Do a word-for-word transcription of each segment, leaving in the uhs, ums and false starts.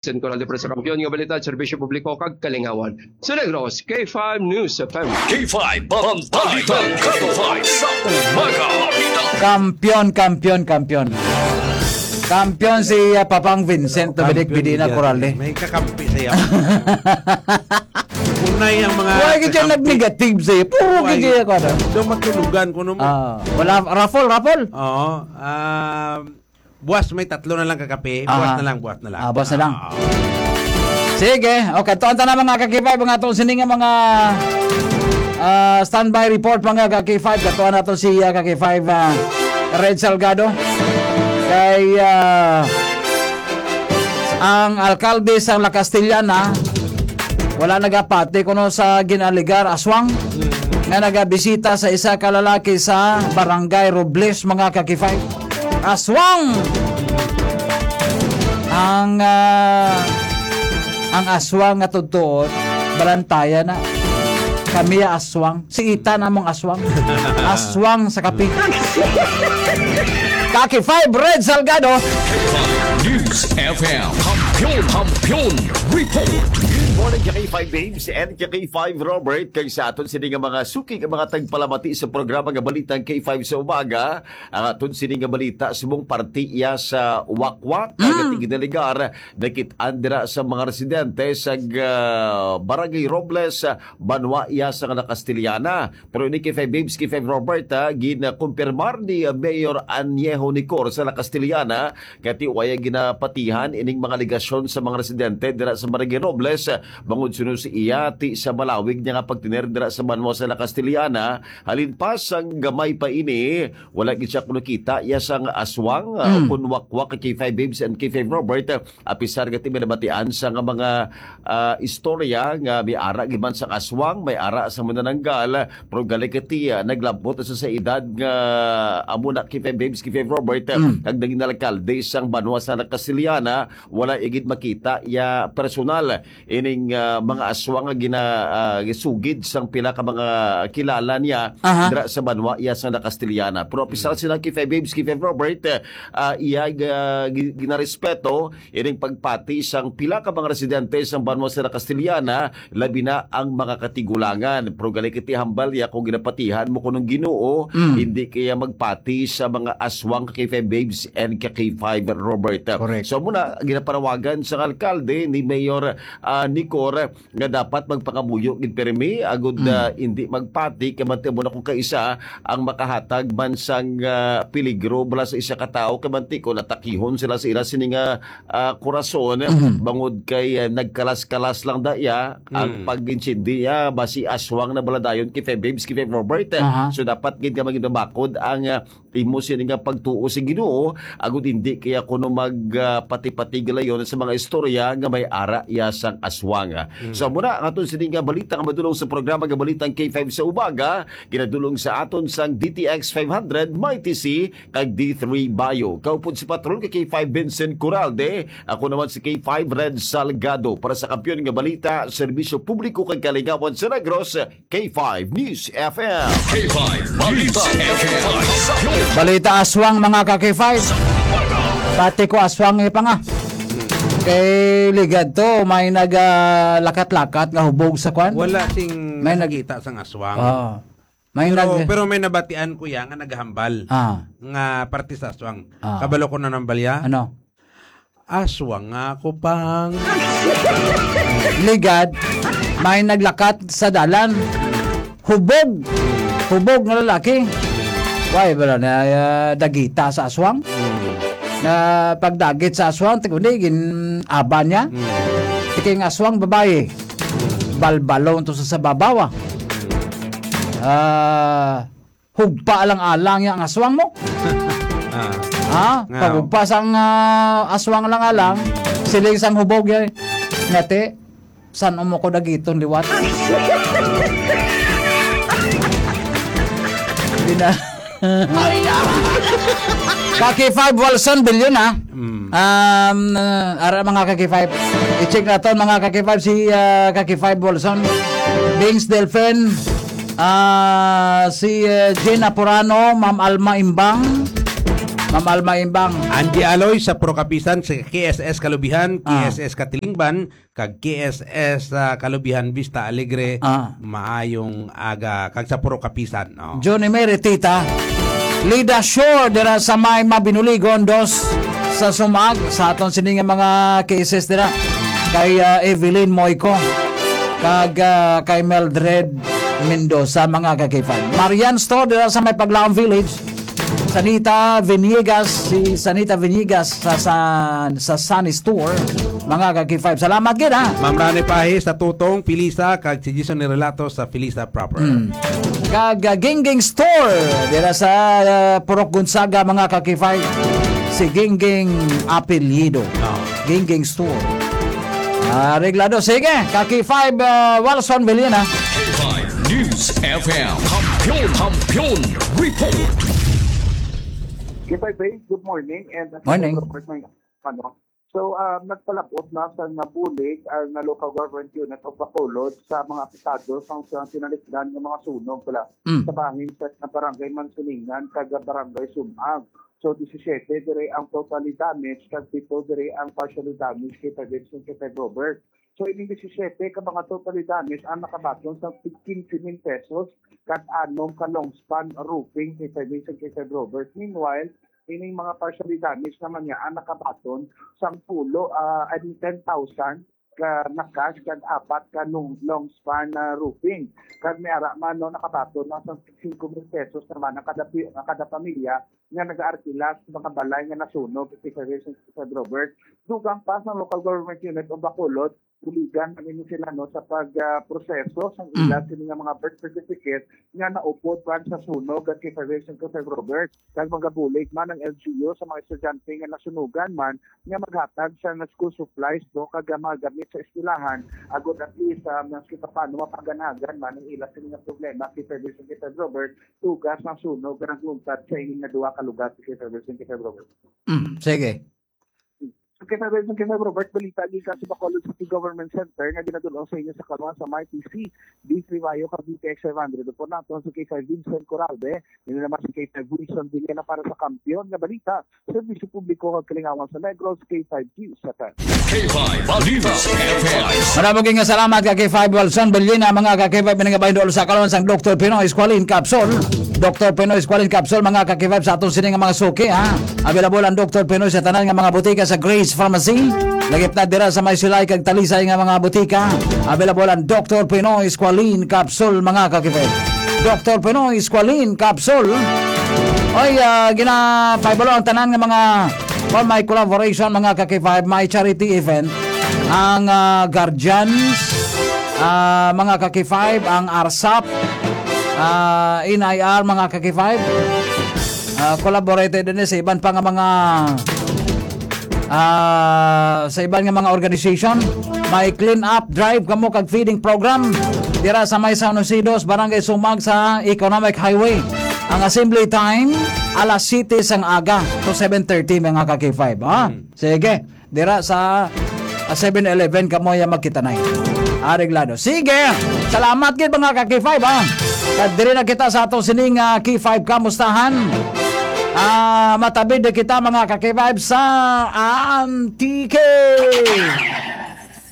Sen Coral de Presa, kampiyon nga balita, serbisyo publiko kag kalingawan. Sa Negros, K five News F M. K five, Balitang K five sa umaga. Kampiyon, kampiyon, kampiyon. Kampiyon si, ah, Papang Vincent Dominic Kampiyon Medina yan. Corale. May kakampi siya. Unay ang mga Why gid siya kakampi. Nag-negative siya? Puro Why? Gid siya, kuwan. Daw magtulugan, kuno mo. Ah, wala, raffle, raffle? Oo. Um, buwas may tatlo na lang kakape. Buwas Aha. Na lang, buwas na lang. Ah, buwas na lang. Ah. Sige. Okay, tuan ta na, mga ka-K five, mga atong sini nga mga, ah, standby report, mga ka-K five. Katuan nato si, ah, ka-K five, ah, Red Salgado. Kay, ah, ang alkalde sa La Castellana, wala nagapati kuno sa ginaligar aswang nga nagabisita sa isa ka lalaki sa Barangay Robles, mga ka-K five. Aswang! Ang, ah, ang aswang nga tugtuon, balantayan na. Kami aswang. Si Ita namong aswang. Aswang sa kape. Kaki five, Red Salgado. News F M. Kampiyon, kampiyon, report. Good morning, K five Babes and K five Robert. Kay sa aton sini nga mga suki, nga mga tagpalamati sa programa nga Balitang K five sa Umaga, ang aton sini nga balita, subong parte iya sa Wakwak, Mm. Ginaligar, nakit-an dira sa mga residente sa, ah, Barangay Robles, ah, banwa iya sa La Castellana. Pero ini, K five Babes, K five Robert, ah, ginakumpirmar ni, ah, Mayor Añejo Nicor sa La Castellana, kati waya ginapatihan ining mga alegasyon sa mga residente dira sa Barangay Robles, ah, bangod suno sa iya ti sa malawig niya nga pagtener dira sa banwa sa La Castellana. Halin pa sang gamay pa ini, wala gid siya kuno kita iya sang aswang, ah, Mm. kun wakwak kay K five Babes and K five Robert, ah, apisar nga ti may nabatian sa nga mga, ah, istorya nga may ara gid man sang aswang, may ara sa manananggal, pero galikati, ah, naglabot sa, sa edad nga amo na K five Babes, K five Robert, Mm. kag naging alkalde sang banwa sa La Castellana, wala igid makita iya personal ining, ah, mga aswang nga gina-, ah, gisugid sang pila ka mga kilala niya Aha. dira sa banwa iya sa La Castellana. Pero apisar Mm. sila K five Babes, K five Robert, ah, iya, ah, gi-, ginarespeto ining pagpati sang pila ka mga residente sang banwa sa La Castellana, labi na ang mga katigulangan. Pero galikati hambal niya kung ginapatihan mo kunong Ginoo, Mm. hindi kaya magpati sa mga aswang ka K five Babes and ka K five Robert. Correct. So muna, ginapanawagan sang alkalde ni Mayor, ah, Nicor nga dapat magpangamuyo gid pirmi agud, Mm. ah, hindi magpati kay manti mo na kung kaisa ang makahatag man sang, ah, peligro bala sa isa ka tawo kay manti ko natakihon sila sa ila sini nga, ah, kurason Mhm. bangod kay, ah, nagkalas-kalas lang da iya ang Mm. pag-insindi niya basi aswang na bala dayon kay Feb Babes, kay Feb Robert. Aha. So dapat gid nga maging bakod ang, ah, imo sini nga pagtuo sa Ginoo, agud hindi kaya kuno mag, ah, pati-pati galayon sa mga istorya nga may ara iya sang aswang. Mm. So, muna ang aton sini nga balita nga madulong sa programa nga Balitang K five sa Umaga, ginadulong sa aton sang D T X five hundred, Mighty C, kag D three Bio. Kaupod si Patrol kay K five Vincent Coralde, ako naman si K five Red Salgado. Para sa Kampiyon nga Balita, Serbisyo Publiko kag Kalingawan sa Negros, K five News F M. K five News F M. Balita aswang, mga ka K five. Pati ko aswang, eh, pa nga. Kay ligad to, may nag, ah, lakat-lakat nga hubog sa kwan. Wala sing May nag- nakita sang aswang. Oo. May Pero, nag- pero may nabatian ko ya nga naghambal Ah. nga parte sa aswang. Ah. Kabalo ko na nang balya? Ano? Aswang nga ako pang. Ligad, may naglakat sa dalan. Hubog. Hubog nga lalaki. Why, wala na, ah, dagita sa aswang? Mm. Na pagdagit sa aswang, tikundi, gin-aban niya. Mm. Tiking aswang, babae. Balbalon to sa, sa babaw, ah. Ah, hugpa lang alang yang aswang mo. Ah. Ha? Nga. Pagugpa sang, ah, aswang lang alang, siling sang hubog yan. Ngati, san mo ko dagiton liwat? Di na. Kaki five Wilson Billion, ha? Mm. Um, uh, ara, mga Kaki five. I-check naton, mga Kaki five, si, uh, Kaki five Wilson. Bings Delfin. Ah, si, eh, Jen Apurano, Ma'am Alma Imbang, Ma'am Alma Imbang. Angie Aloy sa Puro Kapisan, sa K S S Kalubihan, Ah. K S S Katilingban, kag K S S, ah, Kalubihan Vista Alegre. Ah. Maayong aga, kag sa Puro Kapisan, oh. Johnny Mary Tita. Lida Shore, dira sa may Mabinuligon, dos sa Sumag, sa aton sini nga mga K S S dira. Kay, ah, Evelyn Moico, kag, ah, kay Mildred Mendoza, mga ka-K five. Marian Store, dira sa may Paglaom Village. Sanita Vinigas, si Sanita Vinigas sa, sa, sa Sunny Store, mga ka-K five. Salamat gid, ha? Ma'am Rani Pahi sa Tutong, Pilisa, kag si Jason Nirelato sa Pilisa proper. Mm. Kag, ah, Gingging Store, dira sa, ah, Purok Gonzaga, mga ka-K five. Si Gingging Apelyido. Oh. Gingging Store. Ah, reglado. Sige, ka-K five, ah, Walson Vilina. K five News F M. Kampiyon, Kampiyon Report. K five Bay, good morning. And Morning. Robert, may ano. So, ah, nagpalabot na sa nabulig ang, ah, local government unit of Bacolod sa mga apektado sa, sa tinalikdan nga mga sunog pala Mm. sa bahin sa, sa Barangay Mansuningan kag Barangay Sumag. So, disisiete diri ang totally damaged, kag pito diri ang partially damaged, K five Bay and K five Bay Robert. So, ining disisiete ka mga totally damaged ang nakabaton sa quince mil pesos kag anom ka long span roofing, K five Bay and K five Bay Robert. Meanwhile, ining mga partially damaged naman niya ang nakabaton sang pulo, ah, I mean, ten thousand ka na cash kag apat ka long, long span na roofing. Kag may ara man, no, nakabaton na sang singko mil pesos naman ang kada pi-, ang kada pamilya nga nag-aarkila sa mga balay nga nasunog sa K five Bay and K five Bay Robert. Dugang pa sa local government unit o Bacolod, buligan man ini sila, no, sa pag, ah, proseso sang Mm. ila sini nga mga birth certificate nga naupod man sa sunog at K five Bay and K five Bay Robert. Kag magabulig man ang L G U sa mga estudyante nga nasunugan man nga maghatag sa nga school supplies, no, kag, ah, mga gamit sa eskwelahan, agod at least, ah, maski pa paano mapaganagan man ang ila sini nga problema, K five Bay and K five Bay Robert, tugas ang sunog nga nagluntad sa ining nga duha ka lugar, K five Bay and K five Bay Robert. Mm, sige. Kay Sir Wilson, kay Sir Robert, balita gikan sa Bacolod City Government Center nga ginadul-ong sa inyo sa karon sa Mighty C, D three Bayo, kag D T X five hundred. Upod naton si K five Vincent Coralde, ini naman si K five Wilson Villena para sa Kampiyon nga Balita, Serbisyo Publiko kag Kalingawan sa Negros, K five News F M. K five News F M. Marami nga salamat ka K five Wilson Villena, mga ka K five, pinangabahin doon sa karon sang Doktor Pinoy Squalene Capsule. Doktor Pinoy Squalene Capsule, mga ka K five, sa aton sini nga mga suki, ha? Available ang Doktor Pinoy sa tanan nga mga botika sa Grace Pharmacy. Lagip na dira sa may Silay kag Talisay nga mga botika. Available ang Doktor Pinoy Squalene Capsule, mga ka K five. Doktor Pinoy Squalene Capsule. Oy, ah, gina-, paibalo ang tanan nga mga, well, may collaboration, mga ka K five, may charity event. Ang, ah, Guardians, ah, mga ka K five, ang arsap, ah, N I R, mga ka K five, ah, collaborated din sa iban pa nga mga, ah, sa iban nga mga organization. May clean up drive kamo kag feeding program dira sa may San Jose Dos, Barangay Sumag sa Economic Highway. Ang assembly time, alas siyete sang aga to seven thirty, mga ka K five, ha? Mm. Sige. Dira sa, ah, Seven Eleven kamo ya magkitanay. Areglado. Sige. Salamat gid, mga ka K five, ha. Kag diri na kita sa atong sining, ah, K five Kamustahan. Ah, matabid na kita, mga ka K five, sa Antique.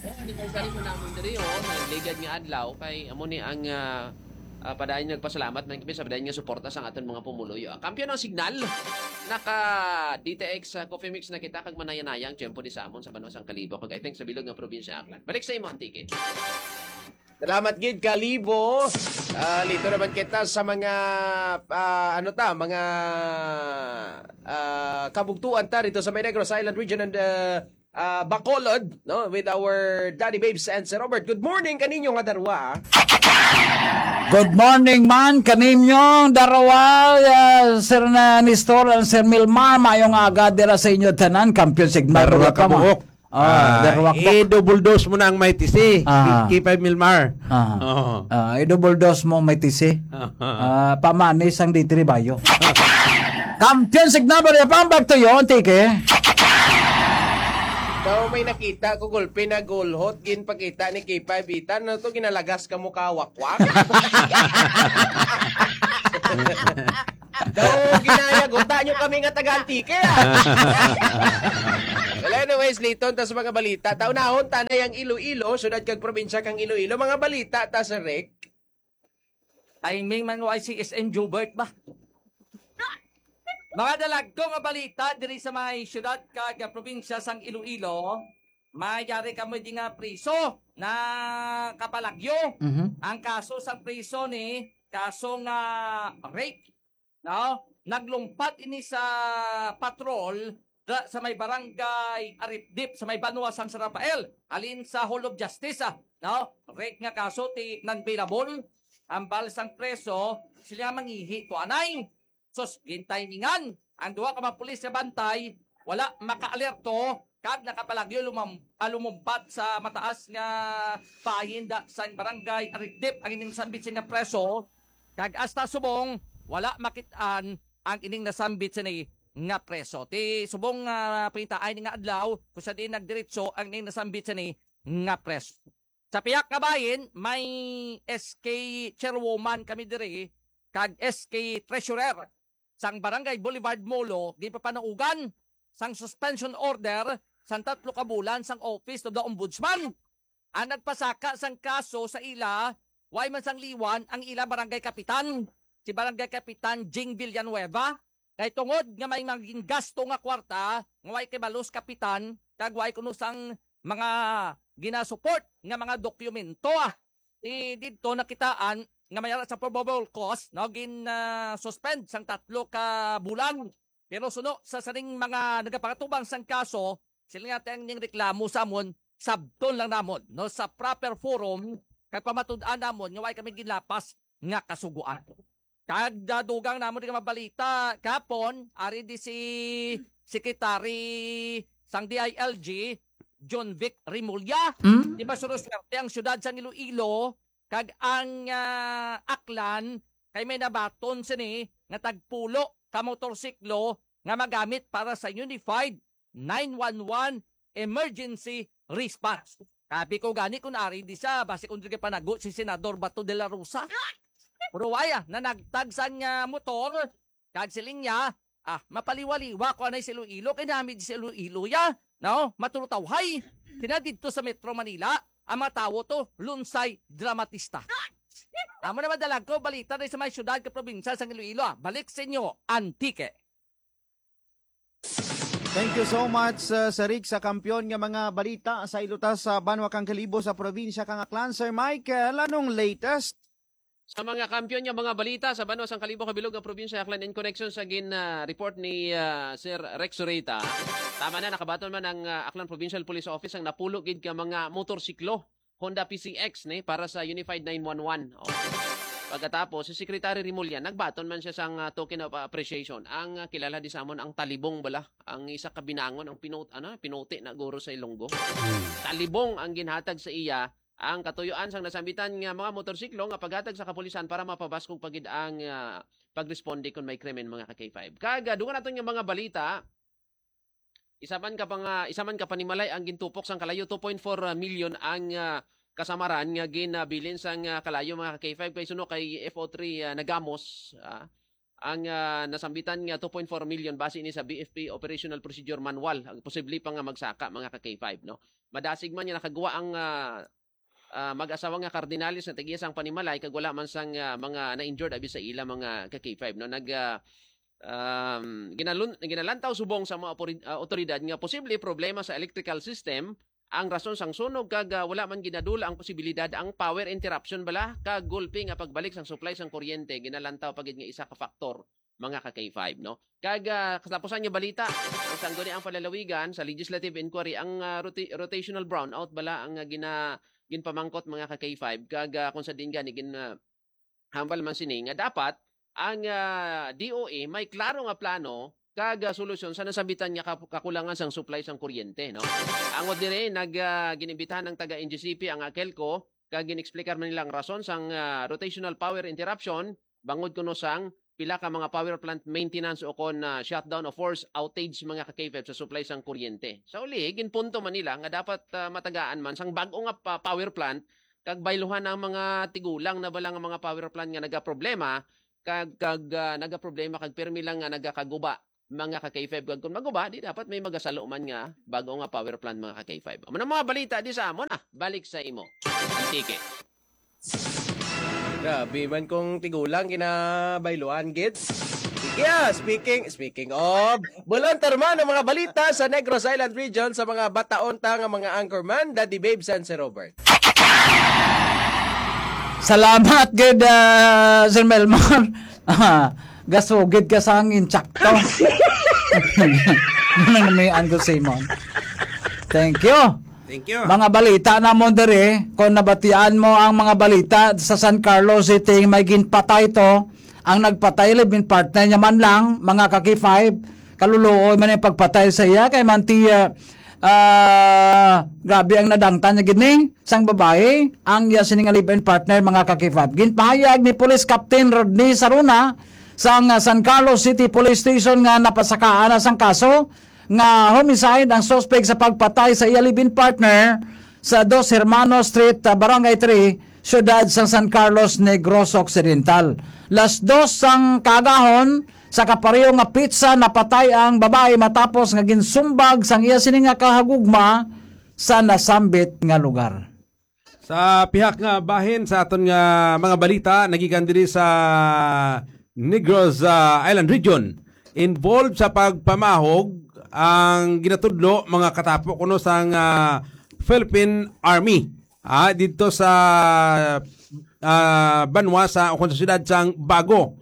Anniversary po naman diri, oh, sa ligad nga adlaw kay amo ni ang, ah, Ah, padayon nagpasalamat man kami sa padayon nga suporta sa aton mga pumuluyo. Ang kampiyon ang signal, naka D T X, ah, Coffee Mix na kita, kag manaya-naya ang tiyempo di sa amon sa banwa sang Kalibo, kag I think sa bilog nga probinsya Aklan. Balik sa imo, Antique. Salamat gid, Kalibo. Ah, lito naman kita sa mga, ah, ano ta, mga, ah, kabugtuan ta rito sa may Negros Island region and, ah, ah, Bacolod, no, with our Daddy Babes and Sir Robert. Good morning kaninyo nga darwa, ah. Good morning man kaninyo darwa, ah, Sir na Nestor and Sir Milmar. Mayong aga dira sa inyo tanan, Kampiyon Signal. Darwa Darwa ka mo. Buok. Ah, Ah, darwa ka. I-double dose mo na ang Mighty C. Ah. K-, K five Milmar. Ah. Oo. Ah, i-double dose mo, Mighty C. Ah. Ah, pamanis ang D three Bayo. Kampiyon Signal, Maria Pam, back to you, Antique. Daw may nakita ko, gulpi na gulhot, ginpakita ni K five Itan. Ano to, ginalagas ka mo kawakwak? Daw, ginaya, guta nyo kami nga taga Antique, ah. Well, anyways, liton ta sa mga balita. Taunahon, tanay ang Iloilo, syudad kag probinsya kang Iloilo. Mga balita ta, Sir Rick. Timing man, Y C S N Jobert ba? Mga dalagko nga balita diri sa mga syudad kag probinsya sang Iloilo, mayari kamo di nga priso na kapalagyo. Mhm. Ang kaso sang priso ni kaso nga rape, no? Naglumpat ini sa patrol da, sa may barangay Aripdip, sa may banwa sang San Rafael, halin sa Hall of Justice, ah, no? Rape nga kaso ti non-bailable, hambal sang preso, sila mangihi to anay. Sus, gintimingan ang duha ka mga pulis nga bantay, wala makaalerto, kag nakapalagyo lumam-, ah, lumumpat sa mataas nga bahin da sang barangay Aripdip ang ining sambit sini nga preso, kag hasta subong wala makit-an ang ining nasambit sini nga preso. Ti subong nga pangitaa ini nga adlaw, kung sa diin nagdiretso ang ining nasambit sini nga preso. Sa pihak nga bahin, may S K chairwoman kami diri kag S K treasurer sang Barangay Boulevard Molo, ginpapanaugan sang suspension order sang tatlo ka bulan sang Office of the Ombudsman. Ang nagpasaka sang kaso sa ila, way man sang liwan ang ila barangay kapitan, si Barangay Kapitan Jing Villanueva, kay tungod nga may mga gingasto nga kwarta nga way kibalo sa kapitan kag way kuno sang mga ginasupport nga mga dokumento, ah. Ti didto nakitaan nga may ara sa probable cause, no, gin, ah, suspend sang tatlo ka bulan. Pero suno sa sining mga nagapangatubang sang kaso, sila nga tang ning reklamo sa amon, sabton lang namon, no, sa proper forum, kag pamatud-an namon nga way kami ginlapas nga kasugoan. Kag, ah, dugang namon nga mabalita, kapon, ari di si Secretary sang D I L G, John Vic Remulla. Hmm? Di ba, suno swerte ang syudad sang Iloilo, kag ang, ah, Aklan, kay may nabaton sini nga tagpulo ka motorsiklo nga magamit para sa Unified nine one one Emergency Response. Sabi ko gani, kung ari di siya, basi kung di kay panago si Senador Bato de la Rosa. Pero waya, nanagtag sang, ah, motor, kag siling niya, ah, mapaliwaliwa ko anay sa Iloilo, kay nami di sa Iloilo ya, no? Matulutawhay. Kina didto sa Metro Manila, ang mga tawo to, lunsay dramatista. Amo naman dalag ko, balita na sa may syudad ka probinsya sang Iloilo, ah. Balik sa inyo, Antique. Thank you so much, uh, Sir Rick, sa kampiyon nga mga balita sa ilutas sa banwa kang Kalibo sa probinsya kang Aklan. Sir Michael, anong latest? Sa mga kampiyon nga mga balita sa banwa sang Kalibo kabilog nga probinsya Aklan, in connection sa gin, ah, report ni, ah, Sir Rex Sorita, tama na, nakabaton man ang, ah, Aklan Provincial Police Office ang napulo gid ka mga motorsiklo Honda P C X ni para sa Unified nine one one. Oh. Pagkatapos, si Secretary Remulla, nagbaton man siya sang, ah, token of appreciation. Ang, ah, kilala di sa amon, ang talibong bala, ang isa ka binangon, ang pinut-, ano, pinuti na guro sa Ilonggo. Hmm. Talibong ang ginhatag sa iya ang katuyoan sang nasambitan nga mga motorsiklo nga paghatag sa kapulisan para mapabaskog pa gid ang, ah, pagresponde kon may krimen, mga ka-K five. Kag, ah, dugang naton nga mga balita, isa man ka pang, ah, isa man ka panimalay ang gintupok sang kalayo, two point four million ang, ah, kasamaran nga ginabilin sang, ah, kalayo, mga ka-K five, kay suno kay F O three, ah, Nagamos, ah, ang, ah, nasambitan nga two point four million base ni sa B F P Operational Procedure Manual, ang posible pa nga magsaka, mga ka-K five, no? Madasig man nga nakagwa ang, ah, ah, mag-asawa nga Cardinales nga tag-iya sang panimalay kag wala man sang, ah, mga na-injured abi sa ila, mga ka-K five, no? Nag, ah, um, ginalun-, ginalantaw subong sa mga opori-, ah, otoridad nga posible problema sa electrical system ang rason sang sunog kag, ah, wala man ginadula ang posibilidad ang power interruption bala kag gulpi nga pagbalik sang supply sang kuryente, ginalantaw pa gid nga isa ka faktor, mga ka-K five, no? Kag, ah, katapusan nga balita, ang sangguniang palalawigan sa legislative inquiry, ang, ah, rota-, rotational brownout bala ang, ah, gina-, ginpamangkot, mga ka-K five, kag, ah, kung sa din gani gin, ah, hambal man sini nga dapat ang, ah, D O E may klaro nga plano kag, ah, solusyon sa nasambitan nga kap-, kakulangan sang supply sang kuryente, no? Angod diri, nag, ah, ginimbitahan ang taga N G C P ang AKELCO kag gin-explicar man nila ang rason sang, ah, rotational power interruption bangod kuno sang pila ka mga power plant maintenance o kon, ah, shutdown o force outage, mga ka-K five, sa supply sang kuryente. Sa uli, ginpunto man nila nga dapat, ah, matagaan man sang bag-o nga pa-, power plant kag bayluhan ang mga tigulang na bala nga mga power plant nga nagaproblema kag, kag, ah, nagaproblema kag pirmi lang nga nagakaguba, mga ka K five, kag kung maguba, di dapat may magasalo man nga bago nga power plant, mga ka K five. Amo na mga balita di sa amo na. Balik sa imo. Tiki. Grabe man kung tigulang ginabayluan, gid. Sige, ah, speaking, speaking of, bulon tarman ang mga balita sa Negros Island Region sa mga bataon ta nga mga anchorman, Daddy Babe, Sensei Robert. Salamat gid, ah, Sir Melmar. Ah, gasugid ka sa hangin, tsakto. Nang may Uncle Simon. Thank you. Thank you. Mga balita namon diri, kung nabatian mo ang mga balita sa San Carlos City, may ginpatay to. Ang nagpatay, live-in partner niya man lang, mga ka-K five, kaluluoy man ang pagpatay sa iya, kay man ti, ah, ah, grabe ang nadangtan niya gid ni sang babae, ang iya sini nga live-in partner, mga ka-K five. Ginpahayag ni Police Captain Rodney Saruna sang, ah, San Carlos City Police Station nga napasakaan na sang kaso nga homicide ang suspect sa pagpatay sa iya live-in partner sa Dos Hermanos Street, ah, Barangay three, siyudad sang San Carlos, Negros Occidental. Las dos sang kaagahon, sa kapareho nga petsa, napatay ang babae matapos nga ginsumbag sang iya sini nga kahagugma sa nasambit nga lugar. Sa pihak nga bahin sa aton nga mga balita, nagikan diri sa Negros, ah, Island Region. Involved sa pagpamahog ang ginatudlo mga katapo kuno sang, ah, Philippine Army, ah, didto sa, ah, banwa sa, o sa siyudad sang Bago.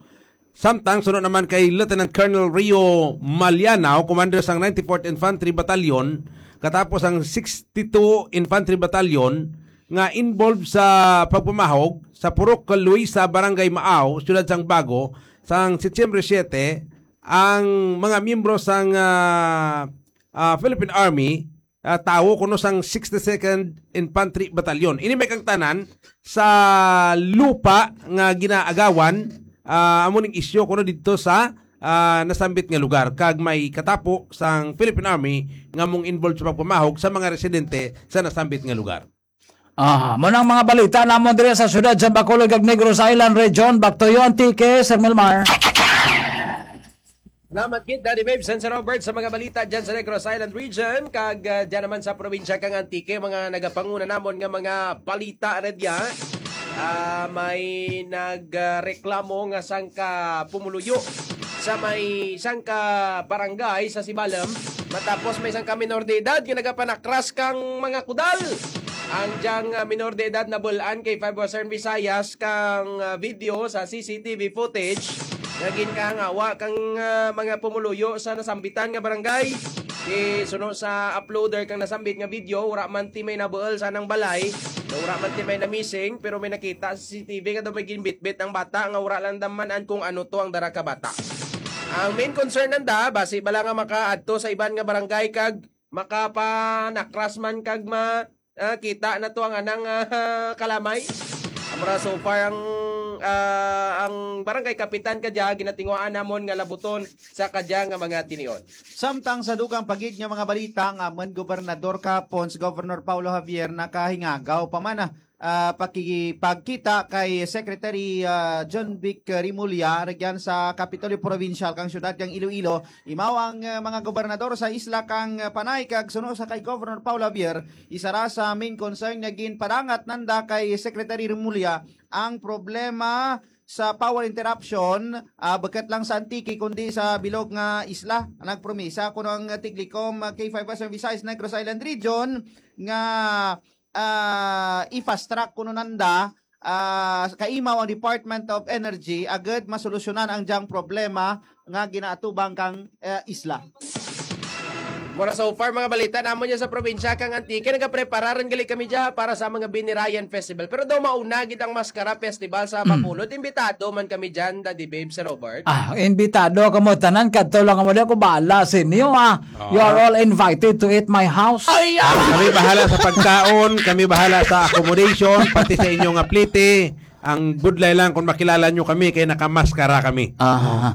Samtang suno naman kay Lieutenant Colonel Rio Malianao, commander sang ninety-fourth Infantry Battalion, katapos ang sixty-two Infantry Battalion, nga involved sa pagpamahog sa Purok Luisa, Barangay Maaw, siyudad sang Bago, sang Setyembre siete, ang mga miyembro sang, ah, ah, Philippine Army, ah, tawo kuno sang sixty-second Infantry Battalion. Ini may kang tanan sa lupa nga ginaagawan, ah, amo ning isyu kuno didto sa, ah, nasambit nga lugar, kag may katapo sang Philippine Army nga mong involved sa pagpamahog sa mga residente sa nasambit nga lugar. Ah, mo nang mga balita namon diri sa siyudad sa Bacolod kag Negros Island Region. Back to you, Antique, Sir Milmar. Salamat gid, Daddy Babe, Sensei Robert, sa mga balita dyan sa Negros Island Region. Kag, ah, dyan naman sa probinsya kang Antique, mga nagapanguna namon nga mga balita na diya. Ah, may nagreklamo nga sangka pumuluyo sa may sangka barangay sa Sibalom. Matapos may sangka minor de edad nga nagapanakras kang mga kudal. Ang diyang, ah, minor de edad nabul-an kay Five Western Visayas kang, ah, video sa C C T V footage nga ginkahangawa kang, ah, mga pumuluyo sa nasambitan nga barangay. Di suno sa uploader kang nasambit nga video, wala man ti may nabuol sa nang balay, wala man ti may na-missing, pero may nakita sa C C T V nga daw may ginbitbit ang bata nga wala lang daman kung ano to ang dara ka bata. Ang main concern nanda, basi bala nga makaadto sa iban nga barangay kag makapanakras man kag ma ah, kita na to ang anang, ah, kalamay. Amura so far ang, ah, ang barangay kapitan kadya ginatinguhaan namon nga labuton sa kadya nga mga tinion. Samtang sa dugang pa gid nga mga balita nga man gobernador kahapon si Governor Paulo Javier nakahingagaw pa man, ah, ah, pakigipagkita kay Secretary, ah, John Vic Remulla ragyan sa Kapitolyo Provincial kang siyudad kang Iloilo. Imaw ang, ah, mga gobernador sa isla kang, ah, Panay kag suno sa kay Governor Paulo Javier, isara sa main concern nga ginpadangat nanda kay Secretary Remulla ang problema sa power interruption, ah, bukut lang sa Antique kundi sa bilog nga isla. Nagpromisa kuno ang Tiglikom, ah, K five Western Visayas Negros Island Region nga, ah, i-fast track kuno nanda, ah, kaimaw ang Department of Energy agud masolusyonan ang diyang problema nga ginaatubang kang, eh, isla. Mura so far mga balita namon niya sa probinsya kang Antique, nagaprepararan gali kami diya para sa mga Binirayan Festival. Pero daw mauna gid ang Maskara Festival sa Bacolod. Imbitado man kami diyan, Daddy Babe, Sir Robert. Ah, imbitado kamo tanan, kadto lang kamo diyan, ko bahala sa inyo, ah. You are all invited to eat my house. Ay, ah! Kami bahala sa pagkaon, kami bahala sa accommodation, pati sa inyo nga plete. Ang budlay lang kung makilala nyo kami kay nakamaskara kami. Ah.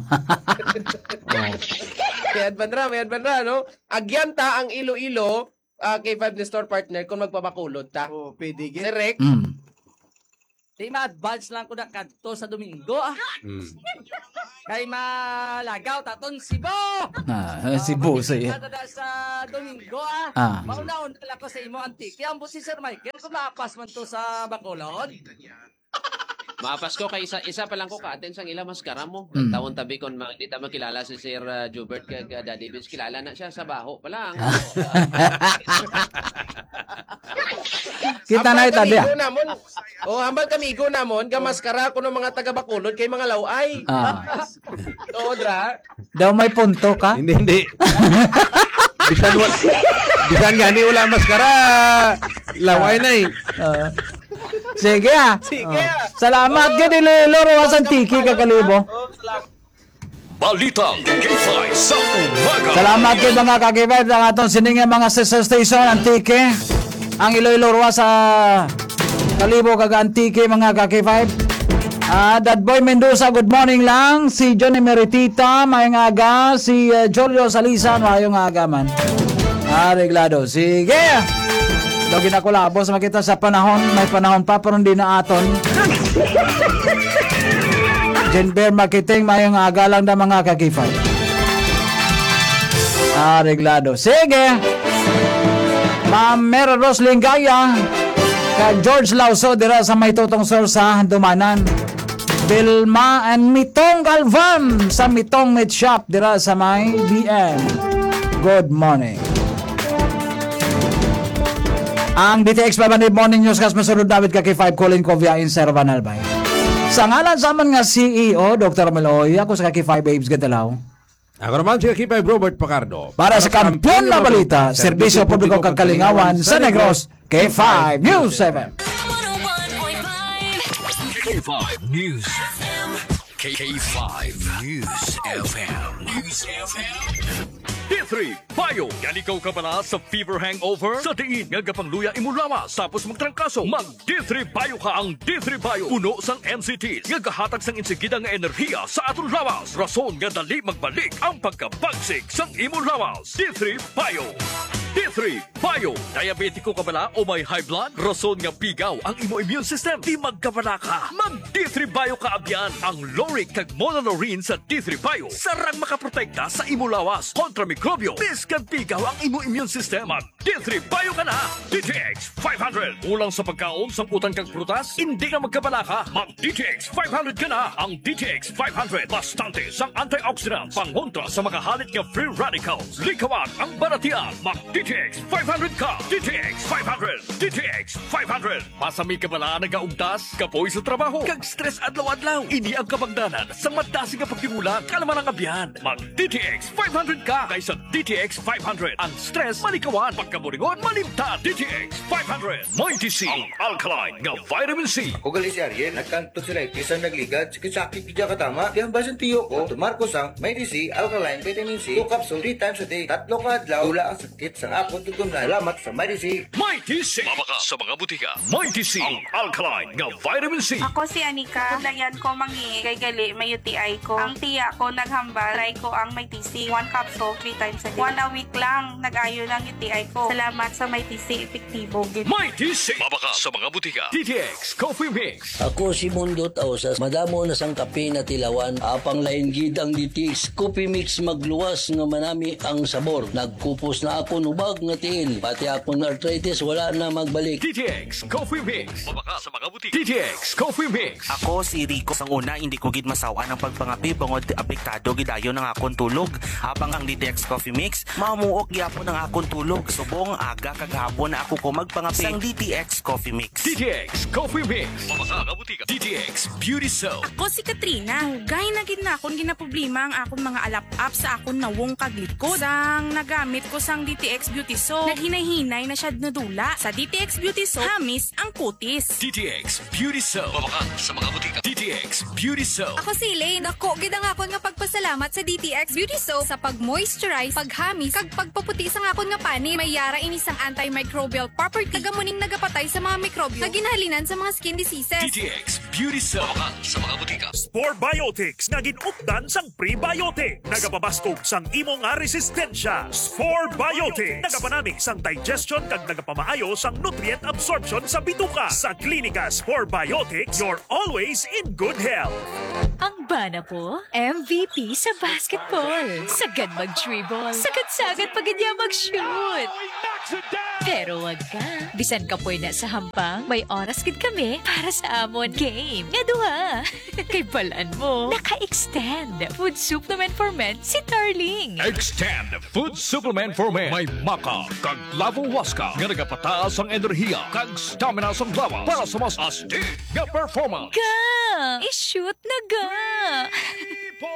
May advan ra, may advan ra, no? Agyanta ang Iloilo, ah, K five ni store partner kung magpabakulod ta. Oh, pwede gid. Direct. Mm. Di ma-advance lang ko na kadto sa Domingo, ah. Mm. Kay malagaw taton Cebu. Ah, eh, Cebu, Ah, sige. Magkita na sa Domingo, ah. Ah. Mauna-una lang ko sa imo, Antique. Ambot si Sir Michael, kung maapas man to sa Bacolod. Maapas ko kay isa, isa pa lang ko ka-attend sang ila maskara mo. Mm. Tawon tabi kon ma-, di ta makilala si Sir, ah, Jubert kag, ah, Daddy Vince. Kilala na siya sa baho pa lang. Kita na Ambal ita kami diya. Igo namon. Oh, hambal kami igo namon, gamaskara ko ng mga taga Bacolod kay mga laway. Ah. Oo, dra. Daw may punto ka? Hindi, hindi. Bisan wa-, bisan gani wala maskara. Laway na eh. Ah. Sige, ah. Sige, Oh. ah. Salamat, Oh. gid, Iloilo, Roa, San Tiki, kakalibo. Oh, salamat. Balitang K five sa umaga. Salamat kay mga ka-K five sa aton sining mga sister station, Antique, ang Iloilo, Roa, sa Kalibo, kag Antique, mga ka-K five. Ah, Dadboy Mendoza, good morning lang. Si Johnny Meritita, maayong aga. Si, eh, Julio Salisan, maayong aga man. Areglado. Sige. Daw ginakulabos makita sa panahon, may panahon pa, pero hindi na aton. Jenber Makiting, maayong aga lang na mga ka-K five. Areglado. Sige. Ma'am Mary Rose Lingaya, kag George Lauso dira sa may Tutong Sur sa Handumanan. Vilma and Mitong Galvan sa Mitong Meat Shop dira sa may B M. Good morning. Ang D T X five hundred Morning Newscast, masunod David ka K five, Colin Covia, in Servan Albay. Sa ngalan sa aman nga C E O, Doktor Meloy, ako sa ka K five Babes Gatalaw. Ako naman si ka K five Robert Pacardo. Para sa Kampiyon na Balita, Serbisyo Publiko kag Kalingawan sa Negros, K five News seven. K five News. K five News F M. News F M. D three Bio. Yan ikaw kabala sa fever hangover? Sa diin nga gapangluya imo lawas tapos magtrangkaso, mag D three Bio ka. Ang D three Bio puno sang M C T nga gahatag sang insigida nga enerhiya sa aton lawas, rason nga dali magbalik ang pagkabagsik sang imo lawas. D three Bio. D three Bio. Diabetiko ka bala o may high blood? Rason nga pigaw ang imo immune system. Di magkabala ka. Mag D three Bio ka, abyan. Ang lauric kag monolaurin sa D three Bio sarang makaprotekta sa imo lawas kontra mikrobyo. Bisan pigaw ang imo immune system, mag D three Bio ka na. D T X five hundred. Kulang sa pagkaon, sang utan kag prutas? Hindi ka magkabala ka. Mag D T X five hundred ka na. Ang D T X five hundred, bastante sang antioxidants, pangontra sa mga halit nga free radicals. Likawan ang balatian. Mag D T X five hundred ka. D T X five hundred. D T X five hundred. Masami ka bala nagaugtas, kapoy sa trabaho, kag stress adlaw-adlaw? Ini ang kabangdanan sang madasig nga pagtimulan. Kalma lang, abyan. Mag D T X five hundred ka, kay sa D T X five hundred ang stress malikawan, pagkaburingon malimtan. D T X five hundred, Mighty C, ang alkaline nga vitamin C. Ako gali si Ariel, nagkang tonsillitis ang nagligad, sakit-sakit gid katama. Di ang basin tiyo ko, tumar ko sang Mighty C alkaline vitamin C, two capsule, three times a day. Tatlo ka adlaw, wala ang sakit sa akon tutunlan. Salamat sa Mighty C. Mighty C. Mabaka sa mga butika. Mighty C, ang alkaline nga vitamin C. Ako si Anika. Layan ko mangi kay gali may U T I ko. Ang tiya ko naghambal, try ko ang Mighty C. One capsule, three times a day. One a week lang, nag-ayo na ang U T I ko. Salamat sa Mighty C, epektibo gid. Mighty C. Mabaka sa mga butika. D T X Coffee Mix. Ako si Mundo Tausas. Madamo na sang kape na tilawan. Apang lain gid ang D T X Coffee Mix, magluwas nga manami ang sabor. Nagkupos na akon hubag nga tiil. Pati akon arthritis wala na magbalik. D T X Coffee Mix. Mabaka sa mga butika. D T X Coffee Mix. Ako si Rico. Sang una, hindi ko gid masaw-an ang pagpangape bangod apektado gid dayon ang akon tulog. Apang ang D T X Coffee Mix, mamuok gyapon ang akon tulog. Subong aga kag hapon na ako ko magpangape sang D T X Coffee Mix. D T X Coffee Mix. Mabaka nga butika. D T X Beauty Soap. Ako si Katrina. Dugay na gid na akon ginaproblema ang akon mga alap-ap sa akon nawong kag likod. Sang nagamit ko sang D T X Beauty Soap, naghinay-hinay na siya nadula. Sa D T X Beauty Soap, hamis ang kutis. D T X Beauty Soap. Mabaka sa mga butika. D T X Beauty Soap. Ako si Elaine. Dako gid ang akon nga pagpasalamat sa D T X Beauty Soap sa pag-moisturize, paghamis, kag pagpaputi sang akon nga panit. May yara ini sang antimicrobial property. Kag amo ning nagapatay Ay sa mga mikrobyo nga ginahalinan sa mga skin diseases. D T X Beauty Cell. Mamakal sa mga botika. Spore Biotics nga gin-updan sang prebiotic. Nagapabaskog sang imo nga resistensya. Spore Biotics. Nagapanami sang digestion kag nagapamaayo sang nutrient absorption sa bituka. Sa Klinika Spore Biotics, you're always in good health. Ang bana po, M V P sa basketball. Sagad mag-dribble. Sagad-sagad pa gid niya mag-shoot. Pero wag ka. Bisan kapoy na sa hampang, may oras gid kami para sa amon game. Nga duha. Kay balan mo, naka-extend Food Supplement for Men si Darling. Extend Food Supplement for Men. May maca kag lavo huasca nga nagapataas ang enerhiya kag stamina sang lawas para sa mas astig nga performance. Ga! I-shoot na ga!